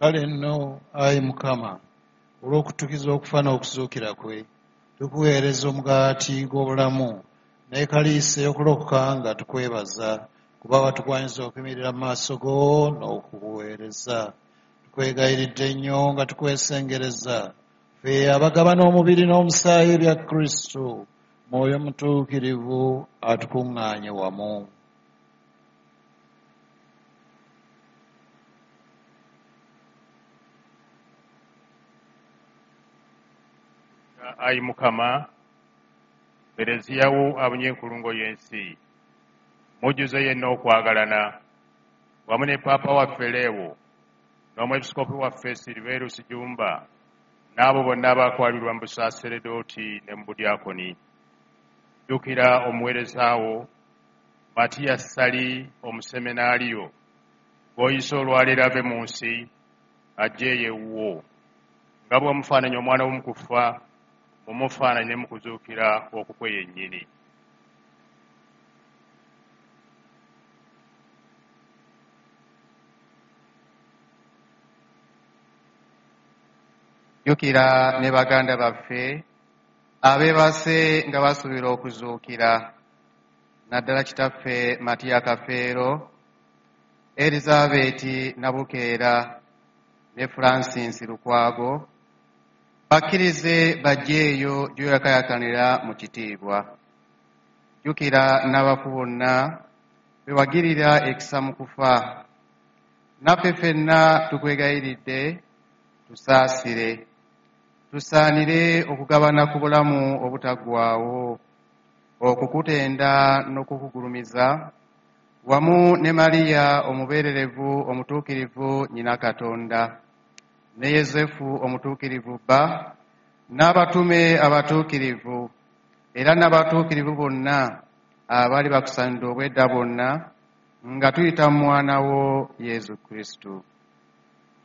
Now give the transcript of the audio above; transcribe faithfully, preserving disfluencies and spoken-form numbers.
Kale nno, ayi Mukama, olw'okuttukiza okufa n'okuzuukira kwe, tukuweereza omugaati gw'obulamu n'ekaliisi ey'okulokoka nga tukwebaza, kuba watugwanyiza okuyimirira mu maaso go n'okukuweereza. Tukwegayiridde nnyo nga tukwesengereza, ffe abagabana omubiri n'omusaayi ebya Kristu, Mwoyo Mutuukirivu atukuŋŋaanye wamu. Ayi Mukama, Keleziya wo abunye enkulungo y'ensi, mujjuze yenna okwagalana, wamu ne Paapa waffe Lewo n'Omwepiskoopi waffe Silverusi Jjumba n'abo bonna abaakwalirwa mu busaaseredooti ne mu budyakoni. Jjukira omuweereza wo Matiya Ssali omuseminaaliyo gw'oyise olwaleero ave mu nsi ajje eyo ewuwo, nga bw'omufaananya omwana wo mu kufa, mumufaananye ne mu kuzuukira okukwe yennyini. Jjukira ne baganda baffe abeebase nga basuubira okuzuukira, naddala kitaffe Matiya Kafeero, Elizabeti Nabukeera ne Francis Lukwago, bakkirize bajje eyo gy'oyakaayakanira mu kitiibwa. Jjukira n'abafu bonna be wagirira ekisa mu kufa, naffe ffenna tukwegayiridde tusaasire, tusaanire okugabana ku bulamu obutaggwaawo, okukutenda n'okukugulumiza wamu ne Mariya omubeererevu omutuukirivu nnyina Katonda, ne Yozefu omutuukirivu bba, n'abatume abatuukirivu, era n'abatuukirivu bonna abali bakusaanidde obwedda bwonna, nga tuyita mu mwana wo Yezu Kristu.